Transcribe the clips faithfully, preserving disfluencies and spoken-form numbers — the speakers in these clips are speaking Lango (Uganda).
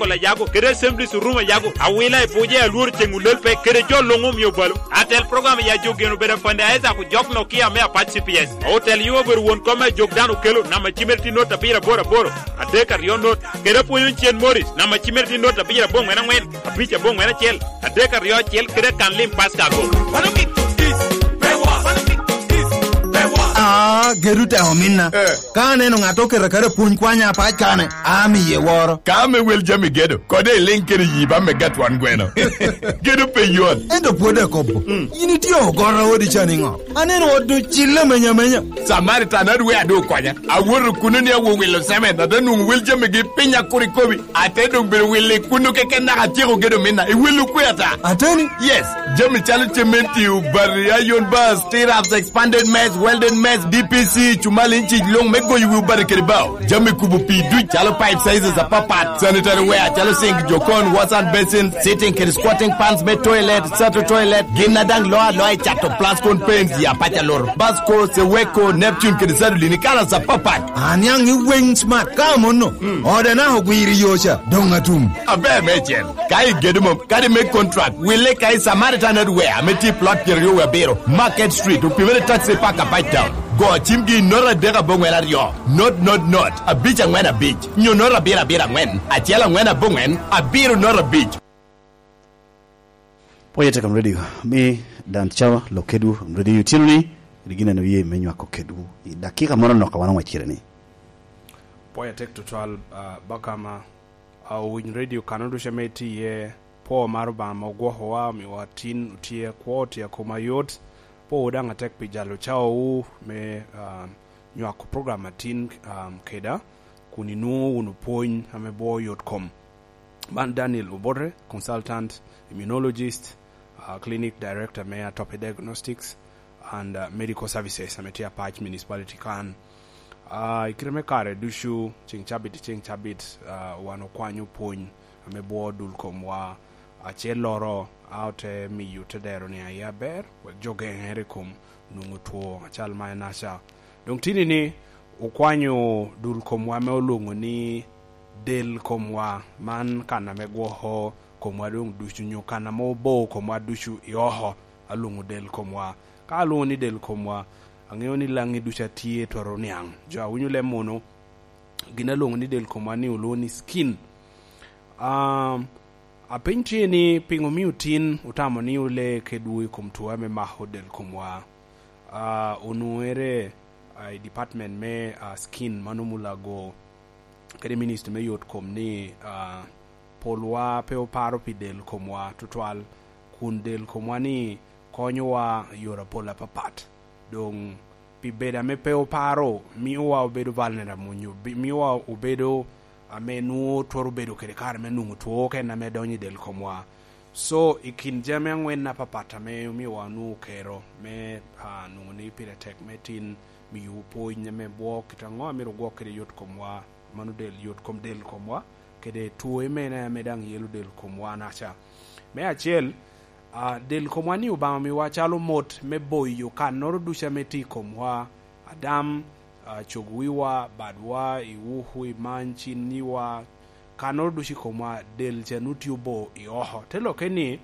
Kol a yago, kede Assemblies Room a yago, awila i buce, alworo ceŋ olel pe, kede jo luŋ omio balo. Atel program ya jo geno bedo afande Isaac Ojok Nokia me apac C P S. Otel yo obedo won kom a jok dano okelo, namba cimere tye not abiro aboro aboro, adek aryo not, kede apwonyo cen Morris, namba cimere tye not abiro aboŋwen aŋwen, abic aboŋwen acel, adek aryo acel, kede kan lim Pastor ago. Wano kit this, pe wa. Wano kit this, pe wa. Ah, gedu te ominna. Eh. Ka aneno ŋat oketo akata pwony kwanya apac kane, amiye woro. Ka ame wel jami gedo, kode iliŋ kede yi ba me gatwan gweno. Gedo pe yot. Ento pwod akobo, mm, yin itye ogoro odi ca niŋo? Aneno ot doŋ cille amenya amenya. Samaritan adwe adu okonya. Awoto kuno ni awo wilo semen, ate nwoŋo wel jamigi piny akur ikobi. Ate doŋ bedo wilo i kuno keken naka atyeko gedo minna. I wilo kwe ata. Ateni? Yes. Jami calo cementi, obati, iron bars, T-raps, expanded mess, welded mess, D P C, cumali, inchic luŋ me goyo wi obati kede bao. Jami kubo pii duc calo pipe sizes apapat, sanitary ware calo sink, jokon, wash and basin, sitting kede squatting pans me toilet, sato toilet, gin a daŋ loo aloa i cato Plascon paints, ya paca loro, Basco, Seweko, Neptune kede Sadolin i kalas apapat. Aniaŋ i weng smart ka amono. Mm. Ode naka ogwiro i yo ca, doŋ atum. Aber meicel. Ka igedo mom, kadi me contract, wille ka i Samaritan Hardware ame tye i plot pyeraryo wie abiro, Market Street, opimere taxi park apac town. Go cimgi i note adek aboŋwen aryo, note, note, note, abic aŋwen abic, nyo note abiro abiro aŋwen, acel aŋwen aboŋwen, abiro note abic. Pwoye te kom redio, mi dan cawa lok kedwu, redio otyeno ni, rik gineno ye me nywako kedwu. I dakika moro nok a wan oŋwec kede ni. Pwoye tek tutwal, ah, bakama. A, owiny redio kano ducu ame itye iye. Pwo mar Obaŋa ame ogwokowa, omiwa tin, otye akwo, otye akoma yot. Pwowu daŋ atek pi jalo cawawu me, ah, nywako program atin, ah, keda, kun inwoŋo wunu pwony ame bwo yot kom. Man Daniel Obote, consultant immunologist, ah, clinic director me Atopic Diagnostics and, ah, Medical Services ame tye Apac Municipality kan. Ah, i kite me kare ducu, ceŋ cabit i ceŋ cabit, ah, wan okwanyo pwony ame bwo dul komwa. Acelloro, a ote miyo te dero ni aye aber, wek jo geŋere i kom nwoŋo two acal ma en aca. Doŋ tini ni, okwanyo dul komwa ame olwoŋo ni del komwa, man kan ame gwoko komwa doŋ ducu, nyo kan ame obo komwa ducu i oko, alwoŋo del komwa. Ka alwoŋo ni del komwa, aŋeo ni laŋi ducu a tye twero niaŋ. Jo a winyo leb munu, gin alwoŋo ni del komwa ni olwoŋo ni skin. Um, apeny tye ni, piŋo omio tin otamo ni ole kedwu i kom two ame mako del komwa? Ah, onwoŋere, ah, i department me, ah, skin, mano mulago, kede ministry me yot kom ni, ah, polwa pe oparo pi del komwa tutwal, kun del komwa ni konyowa i yore apol apapat. Doŋ pi bedo ame pe oparo, miowa obedo vulnerable, onyo bi-, miowa obedo ame nwoŋo twero bedo kede kare me nwoŋo two oken ame donyo i del komwa. So, i kin jami aŋwen apapat ame omiowa onwoŋo kero me, ah, nwoŋo ni pire tek me tin miyowu pwony ame bwo kit aŋo a myero ogwok kede yot komwa, mano del, yot kom del komwa, kede two mene ame daŋ yelo del komwa naca. Me acel, ah, del komwa ni Obaŋa omiwa calo mot me boyo kannoro ducu ame tye i komwa, adam, ah, cog wiwa, badwa, i uku, i many, cinniwa, kannoro ducu i komwa, del ca nwoŋo tye obo i oko. Te lokke ni,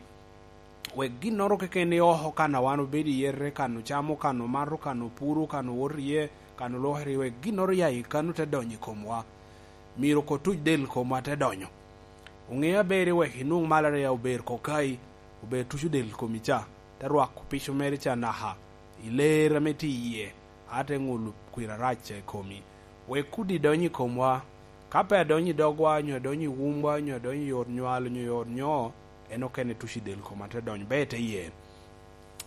wek ginnoro keken i oko, kan a wan obedo iye, te kan ocamo, kan omato, kan opuro, kan owoto iye, kan olwokere, wek ginnoro ya i kan-nu te donyo i komwa. Myero oko tuc del komwa te donyo. Oŋe aber ni wek inwoŋ malaria ober kokai, ober tuco del komi ca, te rwako pico mere ca naka i ler ame tye iye, a te ŋulo kwir arac ca i komi. Wek kudi donyo i komwa, ka pe adonyo i dogwa, nyo adonyo i wumwa, nyo adonyo i ot nywal, nyo i ot nyo, en okene tuco i del koma te donyo, be te yen.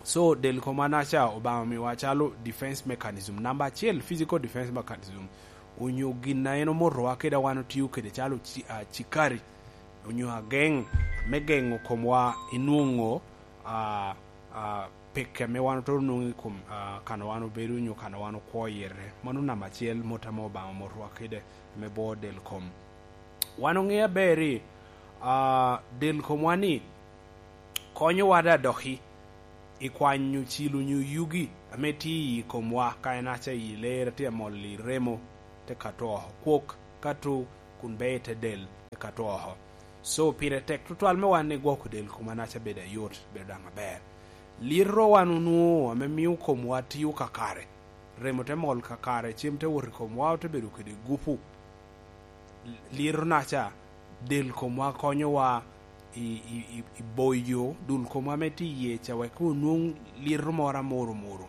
So, del koma naca Obaŋa omiwa calo defense mechanism. Namba acel, physical defense mechanism. Onyo gin a en omotowa kede a wan otio kede calo ci-, ah, cikari, onyo ageŋ, me geŋo komwa i nwoŋo, ah, ah, peke ame wan otoro nwoŋo i kom, ah, kan a wan obedo onyo kan a wan okwo iye. Mano namba acel, mot ame Obaŋa omotowa kede, me bwo del kom. Wan oŋe aber ni, ah, del komwa ni konyowa da doki i kwanyo cilo onyo yugi ame tye i komwa, ka en aca i ler, tye amol i remo, te kato oko. Kwok kato kun beo i te del, te kato oko. So, pire tek tutwal me wan ni gwoko del koma naca bedo ayot, bedo daŋ aber. Liro wan onwoŋo ame mio komwa tio kakare, remo te mol kakare, cem te wot i komwa, ote bedo kede gupu. Liro naca, del komwa konyowa i, i, i, i boyo dul komwa ame tye iye ca, wek onwoŋ liro moro amoro moro.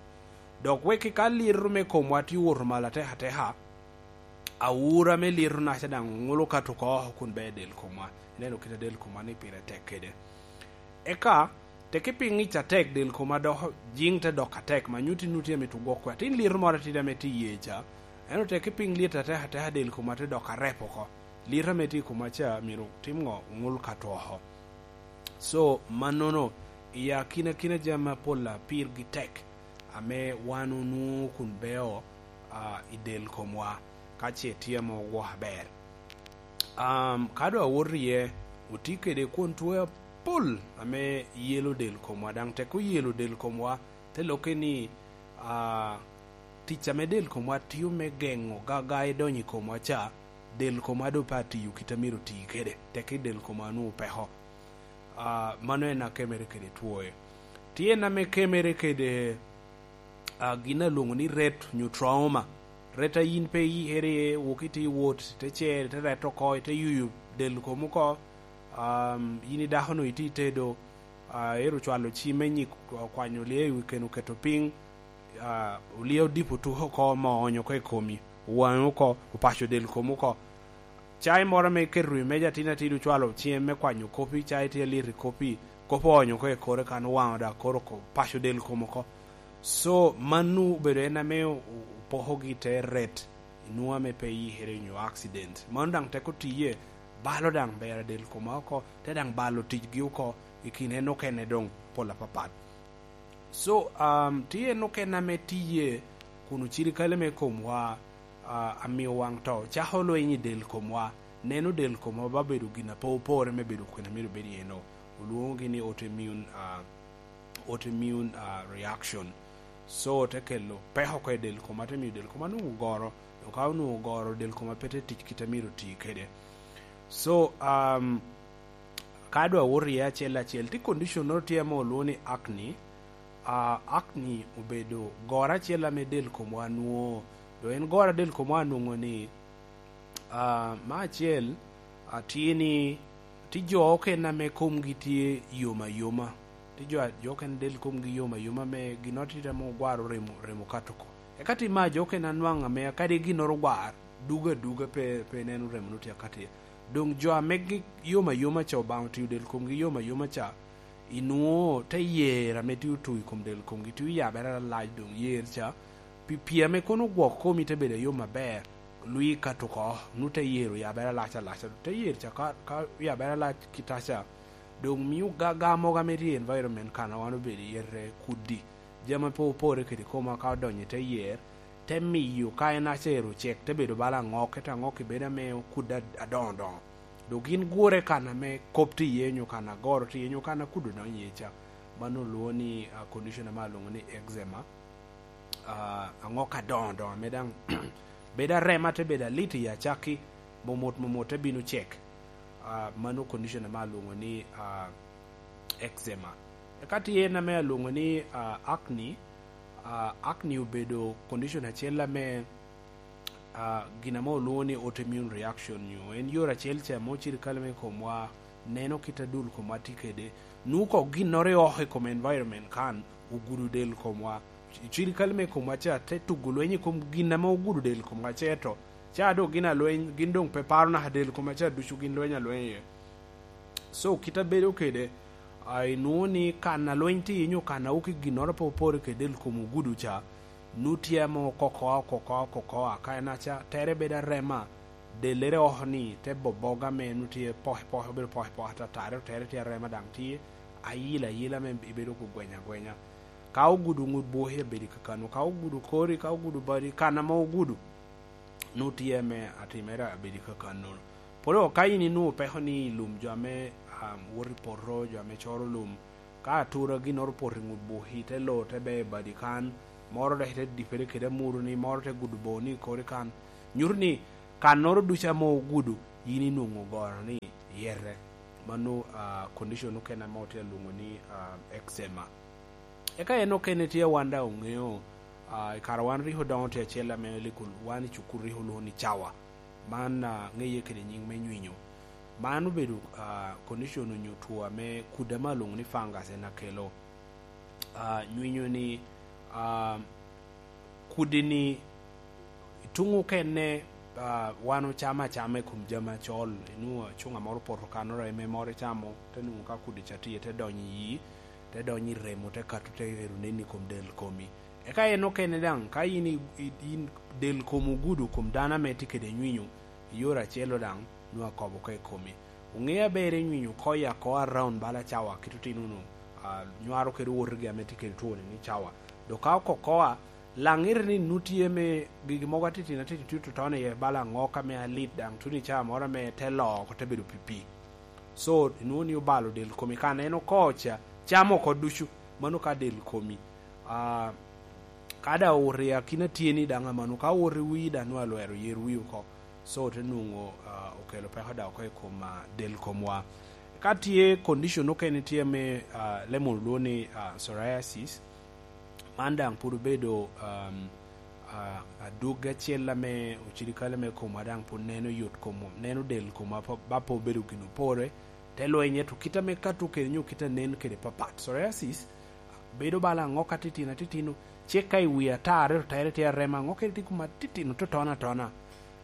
Dok wek ka liro me komwa tye owoto malo atek ateka, awura me liro naca daŋ oŋolo kato oko kun bea del komwa. Ineno kit a del komwa ni pire tek kede. Eka, teke pi ŋic atek del koma dok jiŋ te dok atek, ma nyutti nuti amito gwok kwe. Atin liro moro atidi ame tye iye ca, ento teke pi ŋic atek ateka del koma te dok arep oko. Liro ame tye i koma ca myero tim ŋo? Oŋol kato oko. So, mannono, i akinakina jami apol a pirgi tek, ame wan onwoŋo kun beo, ah, i del komwa, ka ce tye ame ogwoko aber. Um, ka doŋ awoto iye, otye kede kwon twe apol ame yelo del komwa, daŋ tek oyelo del komwa, te lokke ni, ah, tic ame del komwa tio me geŋo gaga i donyo i komwa ca, del komwa doŋ pe atiyo kit a myero oti kede, tek i del komwa onwoŋo peko. Ah, mano en akemere kede twoe. Tye en ame kemere kede, ah, gin a lwoŋo ni ret nyo trauma. Ret a yin pe iyikere iye, wok ite wot, ite cer, ite ret oko, ite yuyo del komi oko. Um, yin i dako-nu itye i tedo, ah, ero cwalo ci me nyik okwanyo lye i wi keno oketo piny, ah, olye odipo tuko oko, moo oonyo oko i komi, owaŋi oko, opaco del komi oko. Cai moro ame iketo i meja atin atin, ocwalo cem me kwanyo kopi, cai tye alit i kopi, kopi oonyo oko i kore kan, owaŋo dok koro oko, paco del kom oko. So, mano obedo en ame o-, opokogi te ret, inwoŋo ame pe iyikere nyo accident. Mano daŋ teko tiye, balo daŋ ber del koma oko, te daŋ balo ticgi oko, i kin en okene doŋ pol apapat. So, um, tye en okene ame tiye kun ocirikale me komwa, ah, amio waŋ to cako lweny i del komwa. Neno del komwa ba bedo gin a pe opore me bedo kwene myero bed iye-no. Olwoŋogi ni autoimmune, ah, autoimmune, ah, reaction. So, te kelo peko oko i del koma, te mio del koma nwoŋo goro. Dok ka onwoŋo goro, del koma pe te tic kit a myero oti kede. So, um, ka doŋ awoto iye acel acel, tye condition-noro tye ame olwoŋo ni acne. Ah, acne obedo goro acel ame del komwa nwoŋo. Doŋ en goro a del komwa anwoŋo ni, ah, me acel, ah, tye ni, tye jo okene ame komgi tye yom ayoma. Tye jo, jo okene del komgi yom ayoma ame ginnoro tye ame ogwaro remo, remo kato oko. Eka tye me jo okene anwaŋ ame kadi ginnoro ogwar, dugo aduga pe, pe neno remo nut akati. Doŋ jo ame gi-, yom ayoma ca, Obaŋa otio del komgi yom ayoma ca, inwoŋo te yer ame tye otu i kom del komgi, tye oyabere alalac, doŋ yer ca, pi, pi ame kono ogwok komi te bedo ayom aber, lwi kato oko, nut te yer oyabere alac alac, te yer ca ka, ka oyabere alac kitaca, doŋ mio gaga mogo ame tye i environment kan a wan obedo iye te kudi, jami pe opore kede koma ka odonyo i te yer, te miyo ka en acero cek, te bedo bala aŋok, ento aŋok-ki bedo ame okudde ad-, adoŋo doŋo. Dok gin gure kan ame kop tye iye, nyo kan agoro tye iye, nyo kan akudo donyo iye ca. Mano olwoŋo ni, ah, condition ame alwoŋo ni eczema. Ah, aŋok adoŋo doŋo ame daŋ bedo arema, te bedo alit i acakki, momot momot te bino cek. Ah, mano condition ame alwoŋo ni, ah, eczema. Eka tye en ame alwoŋo ni, ah, acne. Ah, acne obedo condition acel ame, ah, gin ame olwoŋo ni autoimmune reaction, nyo en yore acel ca ame ocirikale me komwa neno kit a dul komwa tye kede. Nwoŋo oko ginnoro i oko i kom environment kan ogudo del komwa. Cirikale me komwa ca te tugo lweny i kom gin ame ogudo del komwa, ce to ca doŋ gin alweny, gin doŋ pe paro naka del komwa ca, ducu gin lweny alweny iye. So, kit a bedo kede, ah, inwoŋo ni kan a lweny tye iye nyo kan a wuki ginnoro pe opore kede del kom ogudo ca, nu tye ame okoko, okoko, okoko, a ka en aca, tere bedo arema, delere oko ni te boboga me nu tye poke poke, obedo poke poke atatare, tere tye arema daŋ tye, ayila ayila me ibedo ku gwenya gwenya. Ka ogudo ŋut bwoki abedo kakano, ka ogudo kori, ka ogudo badi, kan ame ogudo, nu tye ame atimere abedo kakano. Polo ka in inwoŋo peko ni i lum jo ame, um, woto i poto, jo ame coro lum, ka atura ginnoro opoto i ŋut bwoki, te lo, te beo i badi kan, moro dok ite dipere kede amuru ni, moro te gudo boo ni kori kan, nyuto ni kannoro ducu ame ogudo, in inwoŋo goro ni yete. Mano, ah, condition okene ame otye alwoŋo ni, ah, eczema. Eka en okene tye wan daŋ oŋeo, ah, i kare wan rik odoŋo tye acel ame likul, wan i cukul rik olwoŋo ni cawa. Man, ah, ŋeye kede nyiŋ me nywinyoo. Man obedo, ah, condition onyo two ame kudi ame alwoŋo ni fungus en akelo. Ah, nywinyoo ni, ah, kudi ni tuŋ okene, ah, wan ocamo acama i kom jami acol, inwoŋo acuŋa moro opoto kan oreme moro icamo, te nwoŋo ka kudi ca tye, te donyo i yi, te donyo i remo, te kato, te ero nen i kom del komi. Eka en okene daŋ, ka in i, i, in del kom ogudo kom dano ame tye kede nywinyoo, i yore acel-lo daŋ, nwoŋo akobo oko i komi. Oŋeo aber i nywinyoo oko i ako around bala cawa kit otino-nu, ah, nywaro kede owotegi ame tye kede two-ni ni cawa. Dok ka oko oko a, laŋ ite ni nu tye me gigi mogo atitino atitino tye totona iye bala aŋok ame alit daŋ tuno i cawa moro ame te loo oko te bedo pipii. So, inwoŋo ni obalo del komi kan en oko ca, camo oko ducu, mano ka del komi. Ah, ka daŋ owoto i akina tye ni daŋ amano, ka owoto i wii daŋ nwoŋo alwero yer wii oko. So, te nwoŋo, ah, okelo peko daŋ oko i kom, ah, del komwa. Ka tye condition okene tye me, ah, lemon olwoŋo ni, ah, psoriasis, man daŋ pwod obedo, um, ah, adwogi acel ame ocirikale me komwa daŋ pwod neno yot kom, neno del komwa pa, ba pe obedo gin opore, te lwenye to kit ame kato kede nyo kit anen kede papat. Psoriasis bedo bala aŋok atitino atitino, ce ka i wi atar ento tere tye arema, aŋok kede tye kuma atitino totona atona.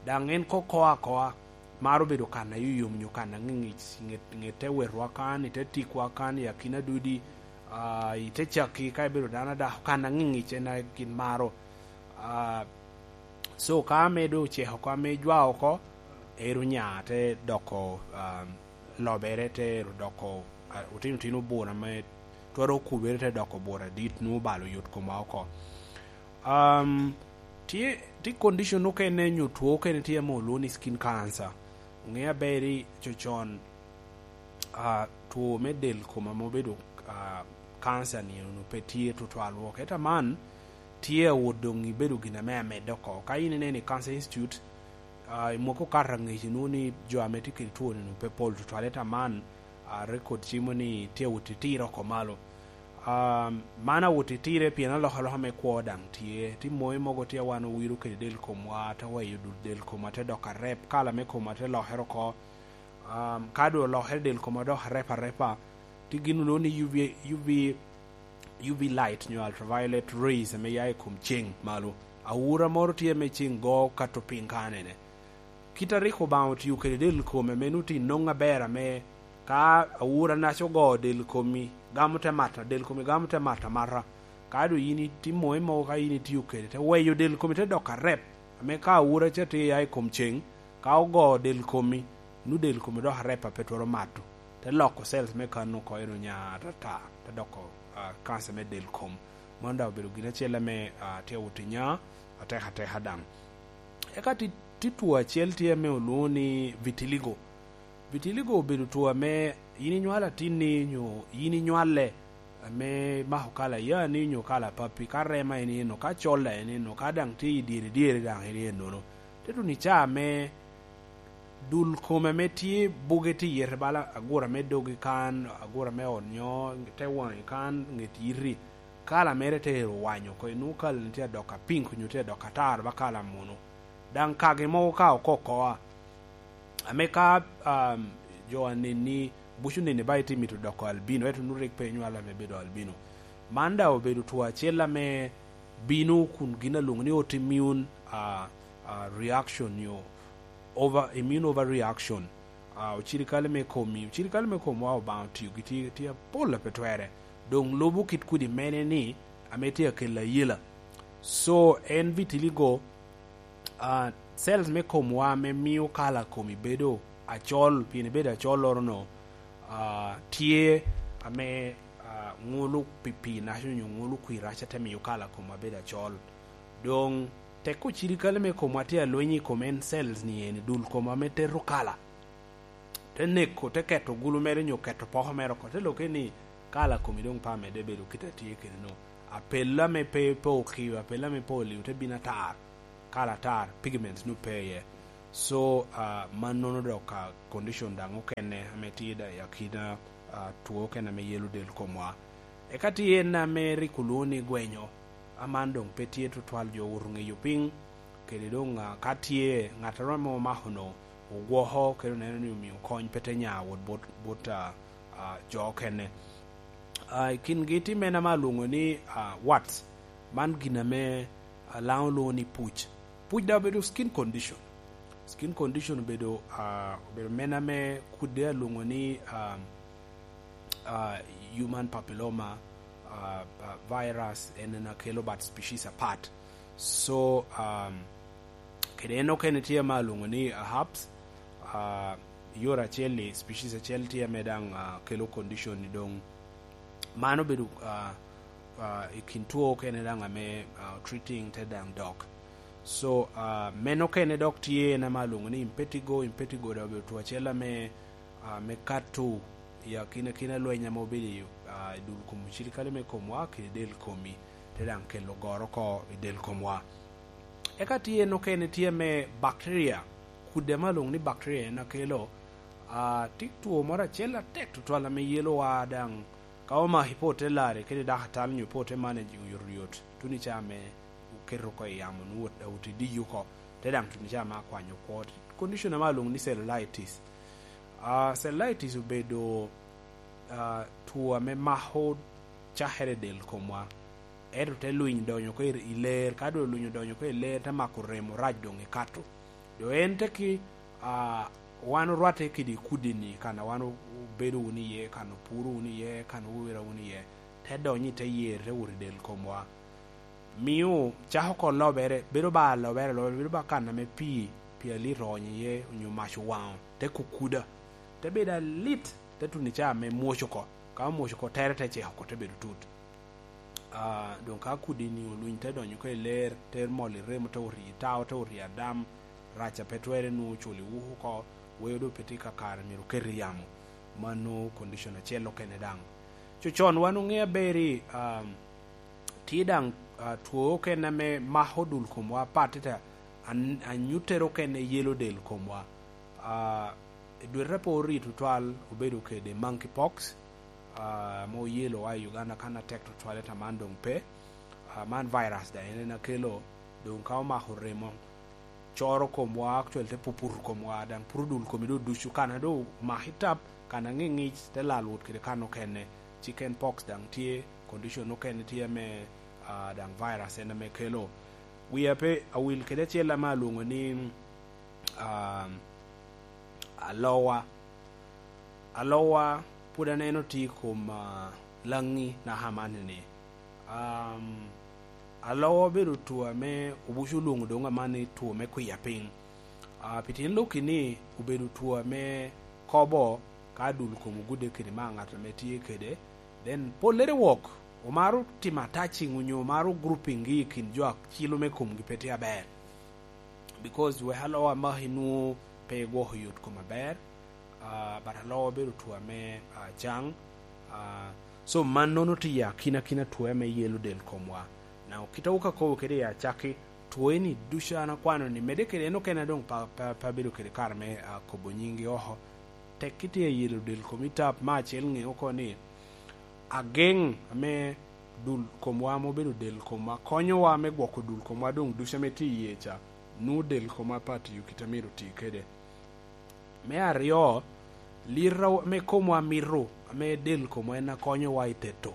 Daŋ en ko ko akoa, maro bedo kan a yoyom nyo kan a ŋiŋic, ŋet, ŋet te wetwa kan, ite tikwa kan, i akina dudi, ah, ite cakki, ka ibedo dano adako, kan a ŋiŋic en a gin maro. Ah, so, ka ame doŋ oceko oko, ame jwa oko, ero nya te doko, ah, lobere te ero doko, ah, otino otino bur ame twero okubere te doko bur adit, nwoŋo balo yot komwa oko. Um, tye, tye condition okene nyo two okene tye ame olwoŋo ni skin cancer. Oŋeo aber ni cocon, ah, two me del kom ame obedo, ah, cancer ni onwoŋo pe tye tutwal wok. Ento man tye awot doŋ ibedo gin ame amedde oko. Ka in ineno i Cancer Institute, ah, i mwaki okato aŋec inwoŋo ni jo ame tye kede two-ni onwoŋo pe pol tutwal, ento man, ah, record cimo ni tye awot itire oko malo. Ah, man awot itire pien alokaloka me kwo daŋ tye. Tye moi mogo tye a wan owiro kede del komwa, te weyo dul del komwa te doko arep, kala me komwa te lokere oko. Um, ka doŋ olokere del komwa dok arep arepa, tye gin olwoŋo ni U V, U V, U V light nyo ultraviolet rays ame ya i kom ceŋ malo. Awura moro tye ame ceŋ go kato piny kanene. Kit a rik Obaŋa otio kede del kome ame nwoŋo tye noŋ aber ame ka awura naca ogo del komi, gamo te mata, del komi gamo te mata mata. Ka doŋ yin itimo i mogo, ka yin itio kede, te weyo del komi te doko arep, ame ka awura ca tye ya i kom ceŋ, ka ogo del komi, nu del komi dok arep a pe twero mato, te loko cells me kan oko ero nya atata, te doko, ah, cancer me del kom. Mano daŋ obedo gin acel ame, ah, tye awot i nya atek ateka daŋ. Eka ti, ti two acel tye ame olwoŋo ni vitiligo. Vitiligo obedo two ame yin inywalo atinni nyo yin inywale ame mako kala yani nyo kala pappi, ka rema en eno, ka cola en eno, ka daŋ tye i dyere dyere daŋ en enono. Te tuno i caa ame dul kome ame tye buge tye i yete bala agura me dogi kan, agura me ot nyo te waŋi kan, ŋet yiti, kala mere te ero wanyo oko, inwoŋo kala ni tye adok apink nyo tye adok atar ba kala munu. Daŋ kagi mogo ka oko oko a, ame ka, um, jo aneni, buco neni ba itye mito doko albino, ento nwoŋo rik pe inywalo ame bedo albino. Man daŋ obedo two acel ame bino kun gin alwoŋo ni autoimmune, uh, uh, reaction nyo over, immune overreaction. Uh, ocirikale me komi, ocirikale me komwa Obaŋa otio gi tye, tye apol a pe twere. Doŋ lubo kit kudi mene ni ame tye akelo ayela. So, en vitiligo, ah, cells me komwa ame mio kala komi bedo acol, pien ibedo acol orono, ah, tye ame, ah, ŋolo pipii naca onyo ŋolo kwir naca te mio kala komwa bedo acol. Doŋ tek ocirikale me komwa tye alweny i kom en cells ni eni, dul komwa me teto kala. Te neko, te keto gulu mere nyo keto poko mere oko, te lokke ni kala komi doŋ pe amedde bedo kit a tye kede-nu. Apello ame pe, pe okio, apello ame pe olio te bino atar, kala atar, pigments nu pe iye. So, ah, mannono dok, ah, condition daŋ okene ame tye da-, i akina, ah, two okene ame yelo del komwa. Eka tye en ame rik olwoŋo ni gwenyo, aman doŋ pe tye tutwal, jo owoto ŋeyo piny, kede doŋ, ah, ka tye ŋattoro ame omako-nu, ogwoko, kede oneno ni omio kony pe te nya wot bot, bot, ah, ah, jo okene. Ah, i kingi tye mene ame alwoŋo ni, ah, warts. Man gin ame, ah, Laŋo lwoŋo ni puc. Puc daŋ obedo skin condition. Skin condition obedo, ah, obedo mene ame kudde alwoŋo ni, ah, ah, human papilloma, ah, ah, virus, en en akelo, but species apart. So, um, kede en okene tye ame alwoŋo ni, ah, herpes, ah, yore acel-li, species acel tye ame daŋ, ah, kelo condition ni doŋ. Mano obedo, ah, ah, i kin two okene daŋ ame, ah, treating te daŋ dok. So, ah, meno okene dok tye en ame alwoŋo ni impetigo, impetigo daŋ obedo two acel ame, ah, me kato i akinakina lweny ame obedo i, ah, i dul kom ocirikale me komwa kede del komi, te daŋ kelo goro oko i del komwa. Eka tye en okene tye me bacteria, kudde ame alwoŋo ni bacteria en akelo, ah, tye two moro acel atek tutwal ame yelowa daŋ ka omaki pe ote lare kede dakatari nyo pe ote manage oyotoyot, tuno ica ame oketo oko i yamo, nwoŋo ot, ot idiyo oko, te daŋ tuno ica ame akwanyo kwo. Condition ame alwoŋo ni cellulitis. Ah, cellulitis obedo, ah, two ame mako cakere i del komwa, ento te lwiny donyo oko i, i ler, ka doŋ olwiny odonyo oko i ler, te mako remo rac doŋ i kato. Doŋ en te ki, ah, wan orwatte kede i kudi-ni, kan a wan obedo wunu iye, kan opuro wunu iye, kan owira wunu iye, te donyo i te yer, te wot i del komwa. Mio cako oko lobere, bedo ba lobere, lobere, bedo ba kan ame pii, pii alit oonyo iye, onyo mac owaŋo, te kukuda, te bedo alit, te tuno ica ame mwoc oko. Ka omwoc oko, tere te cek oko, te bedo tut. Ah, doŋ ka kudi-ni olwiny te donyo oko i ler, te mol i remo, te ori i tao, te ori i adam, rac a pe twere nwoŋo oculo i wuku oko, weo doŋ pe tye kakare myero oket i yamo. Mano condition acel okene daŋ. Cocon wan oŋeo aber ni, um, tye daŋ, ah, two okene ame mako dul komwa apatit, an-, anyuttere okene yelo del komwa. Ah, i dwete pe orito twal obedo kede monkeypox, ah, ame oyelo wa i Uganda kan atek tutwal, ento aman doŋ pe. Ah, man virus daŋ en, en akelo, doŋ ka omako remo, coro komwa, actually te puputo komwa, daŋ puto dul komi doŋ ducu, kan a doŋ omaki tap, kan a ŋiŋic, te lal wot kede kan okene. Chicken pox daŋ tye, condition okene tye ame, ah, daŋ virus en ame kelo. Wia pe awil kede acel ame alwoŋo ni, um, alowa. Alowa pwod aneno tye i kom, ah, Laŋi naka amanni-ni. Um, alowa obedo two ame obuco olwoŋo doŋ amanni two me kwiya piny. Ah, pi tyen lok-ki ni obedo two ame kobo ka dul kom ogudde kede mar ŋat ame tye kede. Then pollere wok omaro timo attaching onyo omaro grouping-gi i kin jo a cilo me komgi pe tye aber. Because wek alowa maki nwoŋo pe igwoko yot kom aber, ah, but alowa obedo two ame, ah, caŋ. Ah, so mannono tye i akinakina two ame yelo del komwa. Now, kit a wok akobo kede i acakki, two eni ducu an akwano ni medde kede en okene doŋ pa, pa, pa bedo kede kare me, ah, kobo nyinggi oko. Tekki tye i yelo del komi tap, me acel ŋe oko ni ageŋ ame dul komwa ame obedo del komwa konyowa me gwoko dul komwa doŋ ducu ame tye iye ca, nwoŋo del komwa pe atiyo kit a myero oti kede. Me aryo, liro ame komwa mito, ame del komwa en akonyowa i teto,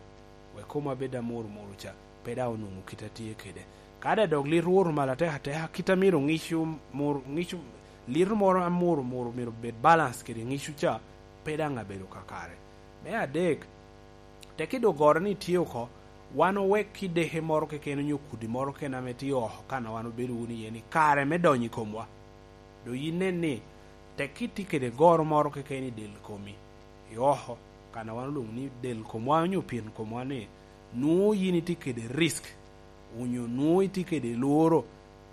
wek komwa bed amurumuru ca, pe daŋ onwoŋo kit a tye kede. Ka daŋ dok liro owoto malo atek ateka, kit a myero ŋic omur-, ŋic o-, liro moro amurumuru myero obed balance kede ŋic ca, pe daŋ abedo kakare. Me adek, tekki dogoro ni tye oko, wan owek kideke moro keken onyo kudi moro keken ame tye oko kan a wan obedo wunu iye ni kare me donyo i komwa. Doŋ yin nen ni tekki tye kede goro moro keken i del komi, i oko, kan a wan olwoŋo ni del komwa onyo pien komwa ni, nwoŋo yin itye kede risk, onyo nwoŋo itye kede lworo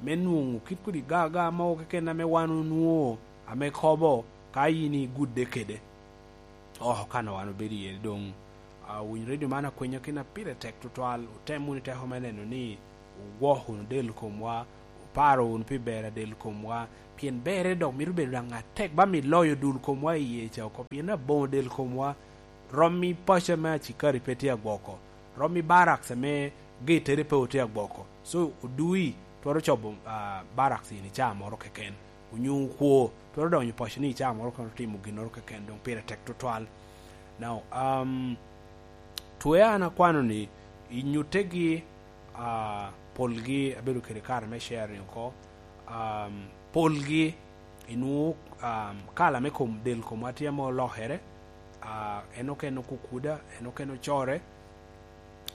me nwoŋo kit kodi gaga mogo keken ame wan onwoŋo, ame kobo ka yin igudde kede. Oh, kan a wan obedo iye doŋ, ah, winy redio man akwenyo kina pire tek tutwal, otem wunu teko me neno ni ogwoko wunu del komwa, Paro wunu pi ber a del komwa, pien berre dok mito bedo daŋ atek ba mi loyo dul komwa i iye ca oko, pien aboŋo del komwa rom i paco ame acikari pe tye agwoko, rom i barracks ame gettere pe otye agwoko. So, odui twero cobo, ah, barracks in i caa moro keken, onyo okwo twero donyo i paco ni i caa moro keken otimo ginnoro keken, doŋ pire tek tutwal. Now, um, twe an akwano ni i nyuttegi, ah, polgi abedo kede kare me sharing oko. Um, polgi inwoŋo, um, kala me kom, del komwa tye ame olokere, ah, en okene okukuda, en okene ocore,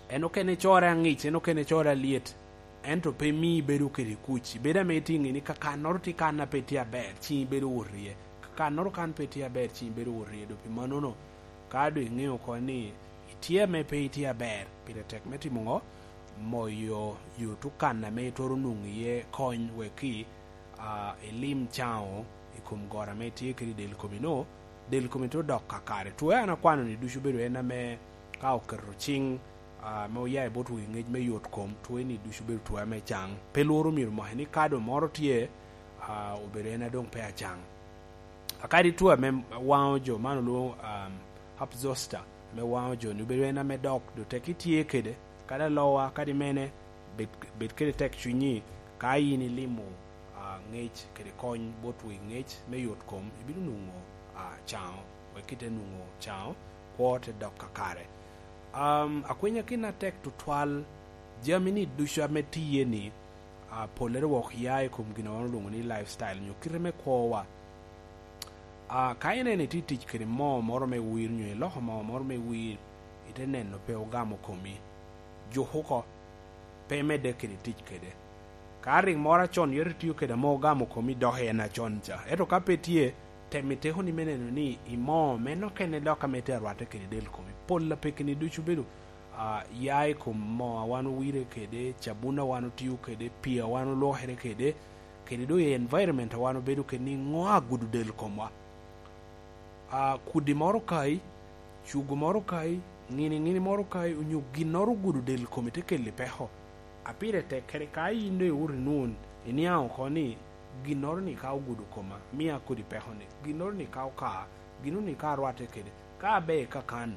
en okene core aŋic, en okene core alyet, ento pe mii ibedo kede kuc. Ibedo ame itye ŋe ni kakannoro tye kan a pe tye aber, ciŋ ibedo wot iye. Kakannoro kan pe tye aber, ciŋ ibedo wot iye. Doŋ pi mannono, ka doŋ iŋeo oko ni itye ame pe itye aber, pire tek me timo ŋo? Moyo yo tukan ame itwero nwoŋo iye kony wek i, ah, ilim caŋo i kom goro ame itye kede i del komi-no, del komi te dok kakare. Twe an akwano ni ducu bedo en ame ka oketo ciŋ, ah, ame oya i bot wi ŋec me yot kom, twe ni ducu bedo twe ame caŋ. Pe lworo myero omaki ni ka doŋ moro tye, ah, obedo en a doŋ pe acaŋ. Akadi twe ame waŋo jo, man olwoŋo, um, herpes zoster, ame waŋo jo-ni, obedo en ame dok, doŋ tek itye kede, kadi alowa, kadi mene, bed, bed kede tek cunyi, ka in ilimo, ah, ŋec kede kony bot wi ŋec me yot kom, ibino nwoŋo, ah, caŋo, wek ite nwoŋo caŋo, kwo te dok kakare. Um, akwenya gin atek tutwal, jami-ni ducu ame tiye-ni, ah, pollere wok ya i kom gin a wan olwoŋo ni lifestyle, nyo kite me kwowa. Ah, ka ineno itye tic kede moo moro me wir, nyo iloko moo moro me wir, ite neno pe ogamo komi, juk oko, pe imedde kede tic kede. Ka rik moro acon yot itiyo kede ame ogamo komi, dok en acon ca. Ento ka pe tye, tem i tekoni me neno ni i moo meno okene dok ame itye arwatte kede del komi. Pol a pekeni ducu bedo, ah, ya i kom moo a wan owire kede, cabun a wan otio kede, pii a wan olwokere kede, kede doŋ i environment a wan obedo kede, ni ŋo agudo del komwa. Ah, kudi moro kai, cugu moro kai, ŋini ŋini moro kai, onyo ginnoro ogudo del komi te keli peko. A pire tek kede ka in doŋ iwuto inwoŋo, iniaŋ oko ni, "Ginnoro-ni ka ogudo koma, mia kodi peko-ni, ginnoro-ni ka oka, ginnoro-ni ka arwatte kede, ka aber kakan."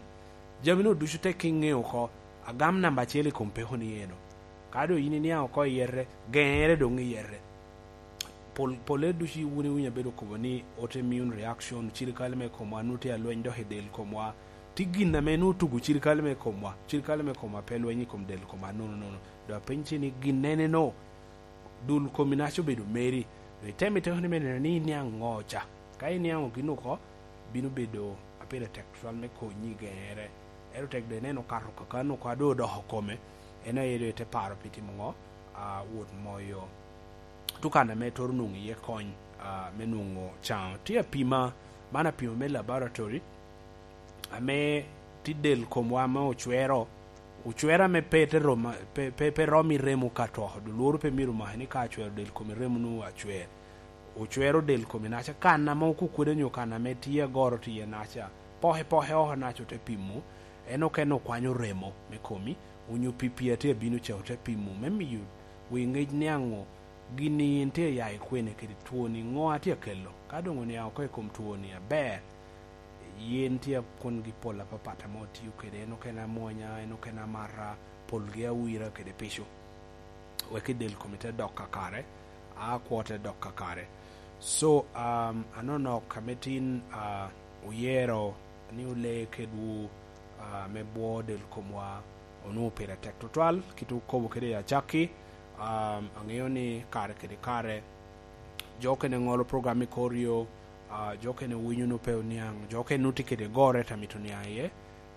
Jami-nu ducu tek iŋeo oko, agam namba acel i kom peko-ni eno. Ka doŋ in iniaŋ oko i yete, geŋere doŋ i yete. Pol, polle ducu wun iwinyo abedo kobo ni autoimmune reaction, cirikale me komwa nwoŋo tye alweny dok i del komwa. Tye gin ame nwoŋo tugo cirikale me komwa, cirikale me komwa pe lweny i kom del komwa nono nono. Doŋ apenyi ni ginnene-no, dul komi naca obedo meri. Doŋ itemo i tekoni me neno ni iniaŋ ŋo ca. Ka iniaŋo gin oko, bino bedo a pire tek tutwal me konyi i geŋere. Ento tek doŋ ineno okato kakano oko a doŋ odoko kome, en aye doŋ ite paro pi timo ŋo? Ah, wot moyo tukan ame itwero nwoŋo iye kony, ah, me nwoŋo caŋo. Tye apima, man apima me laboratory, ame tye del komwa ame ocwero, ocwero ame pe te rom, pe, pe, pe rom i remo ka to, doŋ lworo pe myero omaki ni ka acwero del komi, remo nwoŋo acwer. Ocwero del komi naca, kan ame okukwede nyo kan ame tye agoro tye iye naca, poke poke oko naca ote pimo, en okene okwanyo remo me komi, onyo pii pii a tye abino ca ote pimo, me miyo wi ŋec niaŋ ŋo gin-ni in tye ya i kwene kede twoni, ŋo a tye akelo. Ka doŋ oniaŋ oko i kom twoni aber, yen tye kungi pol apapat ame otio kede, en okene amwonya, en okene amata, polgi awira kede pico, wek i del komi te dok kakare, a kwo te dok kakare. So, um, anonok ame tin, uh, oyero ni ole kedwu, ah, me bwo del komwa, onwoŋo pire tek tutwal, kit okobo kede i acakki. Ah, aŋeo ni kare kede kare, jo okene ŋolo program i kor yo, ah, jo okene winyo nwoŋo pe oniaŋ, jo okene nwoŋo tye kede gore te mito niaŋ iye,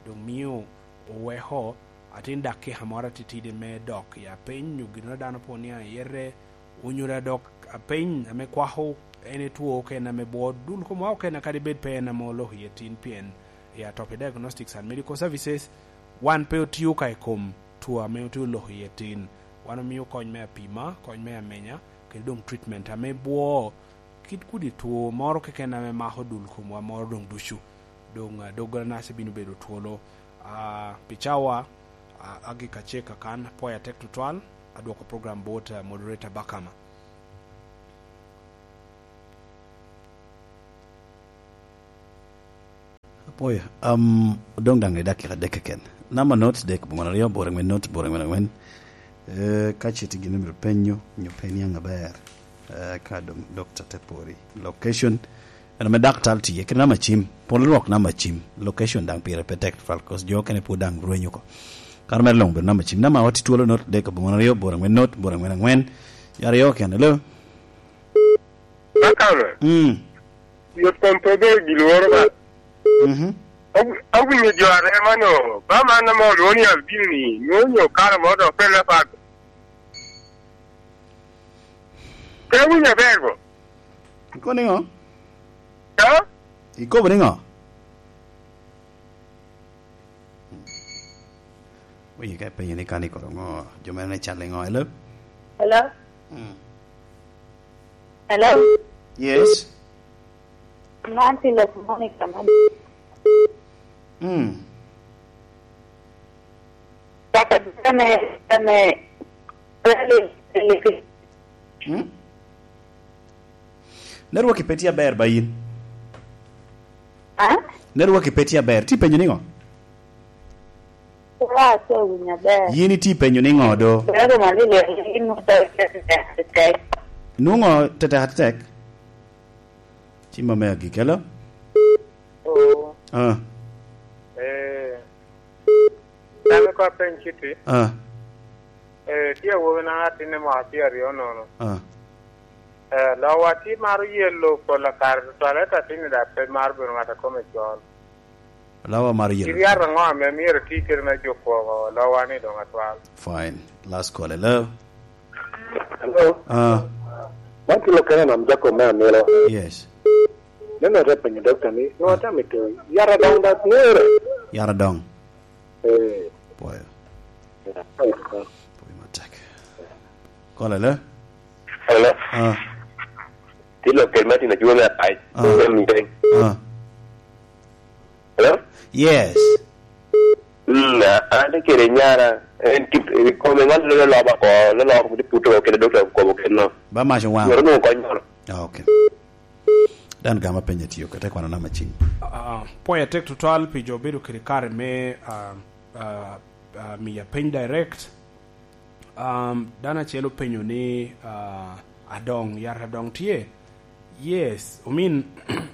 doŋ mio oweko atin dakika moro atitidi me dok i apeny, nyo gin a dano pe oniaŋ iye re, onyo dok apeny ame kwako en etwo okene ame bwo dul komwa okene, kadi bed pe en ame oloko iye tin, pien i Atopi Diagnostics and Medical Services, wan pe otio ka i kom two ame otye oloko iye tin. Wan omio kony me apima, kony me amenya, kede doŋ treatment ame bwo kit kudi two moro keken ame mako dul komwa moro doŋ ducu. Doŋ, ah, doggola naca bino bedo twolo. Ah, pi cawa, ah, agika cek kakan, apwoyo atek tutwal, adwoko program bot, ah, moderator Bakama. Pwoyo, am, odong daŋ i dakika adek keken. Namba not dek, boma aryo, boro angwen not, boro angwen angwen. Eh, ka ce tye gin myero penyo, nyo pe niaŋ aber. Eh, ka doŋ dokta te pori. Location, en ame daktar tye, kede namba cim. Pol lwok namba cim. Location daŋ pire pe tek tutwal, 'cause jo okene pwod daŋ rwenyo oko. Kare mere luŋ obedo namba cim. Namba wa tye twolo not dek, boma aryo, boro angwen not, boro angwen angwen. Yare yo kene, hello? Bakame. Mm. Yot kom pe obedo gin lworo ba. Mhm. Aw-, awinyo jo arema no, ba man ame olwongo ni Albino ni, nwoŋo onyo kare mo dok pelle pat. Pe awinyo aber bo. Ikobo niŋo? Ha? Ikobo niŋo? Oye ka ipenyo ni kan ikoro ŋo, jo mere ne cal iŋo, hello? Hello? Mm. Hello? Yes? Man Silas Monica man. Mm. Kaka dame, dame, rally, rally. Mm? Network pe tye aber ba yin. Ah? Network pe tye aber. Ti penyo niŋo? Wa, atye winyo aber. Yin iti penyo niŋo do? Pero mali le, yin mo to tek, tek. Nwoŋo tetek atetek? Ci ma me agikelo? Oo. Ah. Eh. Dano ka peny citi. Ah. Eh, tye awobi na atinne mwaka tye aryo nono. Ah. Eh, lowa tye maro yelo pol akare tutwal, ento atinne da pe maro bedo ŋat a kome col. Lawa mar yelo. Iryat aŋo ame myero iti kede me juko lowa ni doŋ atwal? Fine. Last call, hello? Hello? Ah. Man tye Lukene Nam Jacob me Amilo. Yes. Neno te penyo dokta ni, nwa te mito yara doŋ da ngere. Yara doŋ. Eh. Pwoyo. Pwoyo matek. Call, hello? Hello? Ah. Tye Lukene Martin Ajua me Apac. Ah. Me Muteng. Ah. Hello? Yes. Mm, a-, an kede nyara, en kit, i kome ŋat lo loba ko, lo loba ko, puto kede dokta ko kede no. Ba mac owaŋ. Yoro nwoŋo kony moro. Ah, okay. Dan gama penye tiyo kede kwano nama cing. Ah, pwoyo atek tutwal pi jo bedo kede kare me, ah, ah, ah, miya peny direct. Um, dano acel openyo ni, ah, adoŋ, yat adoŋ tye? Yes, I mean,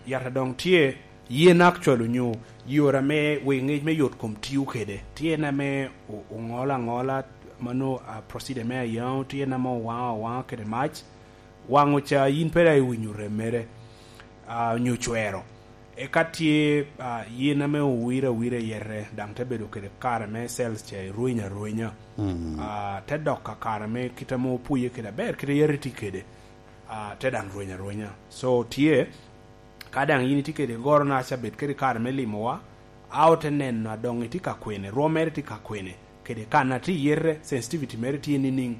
yat adoŋ tye, yen actually onyo yore ame wek ngec me yot kom tiyo kede. Tye en ame o-, oŋolo aŋola, mano, ah, procedure me ayaŋo, tye en ame owaŋo awaŋa kede mac. Waŋo ca yin pe daŋ iwinyo rem mere, ah, onyo cwero. Eka tye, ah, yen ame owiro awira i yete, daŋ te bedo kede kare me cells ca irwenyo arwenya. Mm. Ah, te dok ka kare me kit ame opwoye kede aber, kit a yat itye kede, ah, te daŋ rweny arwenya. So, tye, ka daŋ yin itye kede goro na ca bed kede kare me limowa, a ote neno adoŋ itye ka kwene, rwom mere tye ka kwene, kede kan a tye i yete, sensitivity mere tye nining,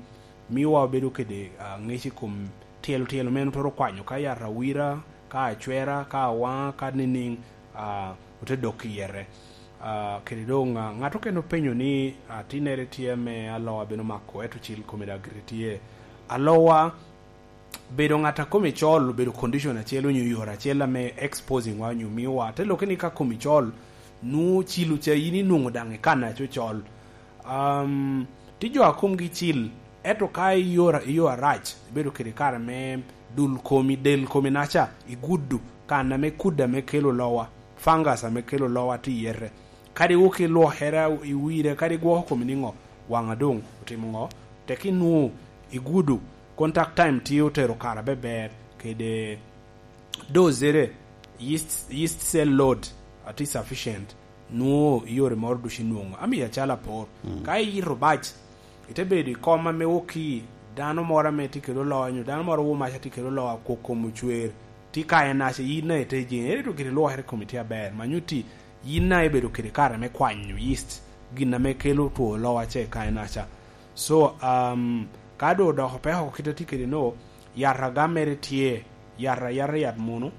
miwa wabedo kede, ah, ngec i kom tyelo tyelo ma en otwero kwanyo, ka yat awira, ka acwera, ka awaŋa, ka nining, ah, ote dok i yete. Ah, kede doŋ, ah, ŋat okene openyo ni, ah, tinnere tye ame alowa bino mako, ento cil kome daŋ gire tye. Alowa, bedo ŋat a kome col obedo condition acel onyo yore acel ame exposing wa onyo miwa. Te lokke ni ka komi col, nwoŋo cilo ca yin inwoŋo daŋ i kan aco col. Um, tye jo a komgi cil, ento ka i yo, i yo arac, ibedo kede kare me dul komi, del komi naca, igudo, kan ame kudde ame kelo lowa, fungus ame kelo lowa tye i yete. Kadi wok ilwokere i wire, kadi igwoko komi niŋo, waŋa doŋ otimo ŋo? Tek inwoŋo igudo, contact time tye otero kare abeber, kede dozere, yeast, yeast cell load atye sufficient, nwoŋo i yore moro ducu inwoŋo. Amiyo acalo apor, mm, ka iyito bac, ite bedo i kom ame wok i dano moro ame tye kede olowa, nyo dano moro wo mac atye kede olowa, kok kom ocwer, tye ka en aca, yin daŋ ite jeŋe, ento gire lwokere i komi tye aber. Ma nyutti, yin daŋ ibedo kede kare me kwanyo yeast, gin ame kelo two olowa ce ka en aca. So, um, ka doŋ odoko peko kit a tye kede no, yat agam mere tye, yat ayata, yat munu,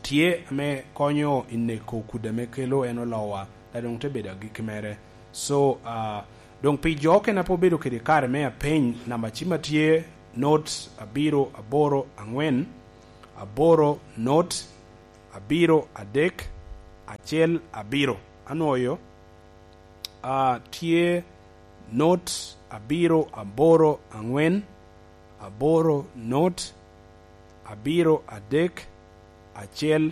tye ame konyo i neko kudde ame kelo en olowa, a doŋ te bedo agikki mere. So, ah, doŋ pi jo okene a pe obedo kede kare me apeny, namba cim a tye not abiro aboro angwen, aboro not, abiro adek, acel abiro. Anwoyo, ah, tye not abiro aboro aŋwen, aboro not, abiro adek, acel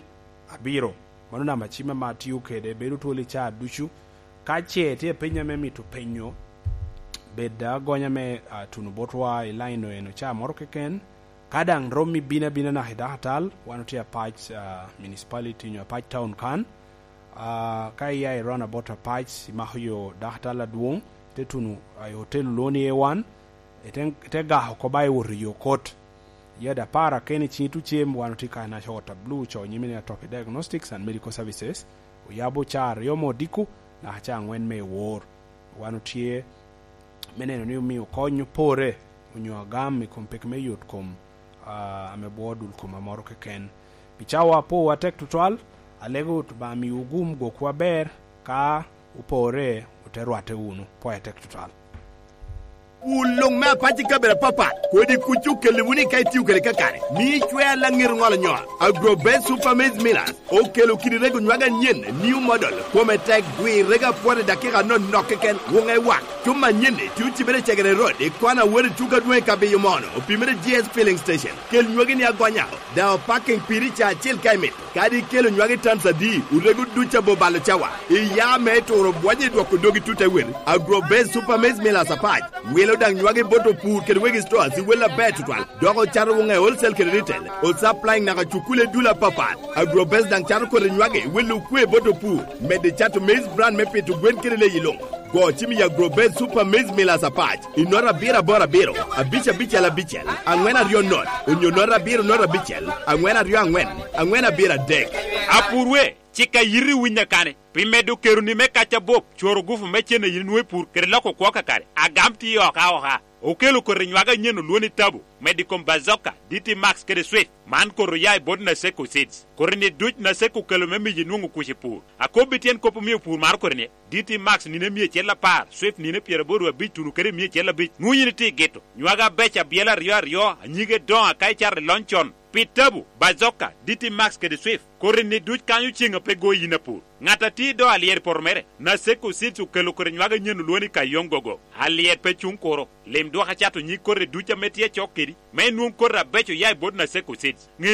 abiro. Mano namba cim ame atio kede, bedo twol i caa ducu. Ka ce tye piny ame mito penyo, bed agonya me, ah, tuno botwa i line eno caa moro keken. Ka daŋ rom ibino abina naka i dakatal, wan otye apac, ah, municipality nyo apac town kan. Ah, ka iya i roundabout apac, imako yo dakatal adwoŋ, ite tuno, ah, i hotel olwoŋo ni A one, ite, ite gako oko ba iwoto i yo kot. Yada apar akene i ciŋi tucem, wan otye kany naca Water Blue, co nyime ni Atopic Diagnostics and Medical Services, oyabo caa aryo me odiko, naka caa aŋwen me wor. Wan otye me neno ni omio kony opore, onyo agam i kom peki me yot kom, ah, ame bwoo dul kom amoro keken. Pi cawa apowu atek tutwal, alego Obaŋa miwu gum gwokwu aber, ka opore, ote rwatte wunu. Pwoyo atek tutwal. Wun luŋ me apac i kabedo apapat, kodi kuc okelli wunu i ka itio kede kakare. Mi icwer laŋet oŋolo nyol. Agro Best Super Maize Millers okelo kidi rego nywage anyen, new model, kome tek, gwir rego apwot i dakika anonok keken, wuŋe wak. Cuma anyen-ni tye ocibere i Cegere Road, i kona a wot i tuko adwoŋ i Kabiyo Mono, opimere G S Filling Station. Kel nywagi ni agonya, daŋ opaking piri ca acel ka imito. Kadi ikelo nywagi tons adi, orego duc abobalo cawa. Iya me turo bwonyo i dwoko dogi tut awel. Agro Best Super Maize Millers apac. Wilo daŋ nywagi bot opur kede wegi stores i wel aber tutwal. Dok ocato wuŋe wholesale kede retail. O supplying naka cukule dul apapat. Agro Best daŋ cato kodi nywagi, wilo okwe bot opur. Medde cato maize bran me pito gwen kede leyi luŋ. Go cim i Agro Best Super Maize Millers apac. I nota abiro aboro abiro, abic abicel abicel, aŋwen aryo not, onyo nota abiro not abicel, aŋwen aryo aŋwen, aŋwen abiro adek. Apur we, cik a yiti winya kane, pi medo keroni me kac abup, cworo gufu me cen a yin inwoŋo i pur, kede loko kwo kakare, agam tye oka oka. Okelo koti nywage anyen olwoŋo ni Tabu, medo i kom Bazoka, D T Max kede Swift. Man koti oya i bot Naseko Seeds. Koti-ni duc Naseko okelo me miyo inwoŋo kuc i pur. Akobbi tyen kop omio pur maro koti-ni, D T Max nino mia acel apar, Swift nino pyeraboro abic tuno kede mia acel abic. Nwoŋo yin itye i gito. Nywage abeco abyela aryo aryo, anyige doŋo aka icato i lony con. Pi Tabu, Bazoka, D T Max kede Swift, koti-ni duc kanyo ceŋ a pe goyi yin apur. Ŋat a tye i do alyet i poto mere, Naseko Seeds okelo koti nywage anyen olwoŋo ni Kayong Gogo. Alyet pe cuŋ kuro. Lim dwok acato nyig koti duc ame tye acok kedi, me inwoŋ koti abeco oya i bot Naseko Seeds. Ŋe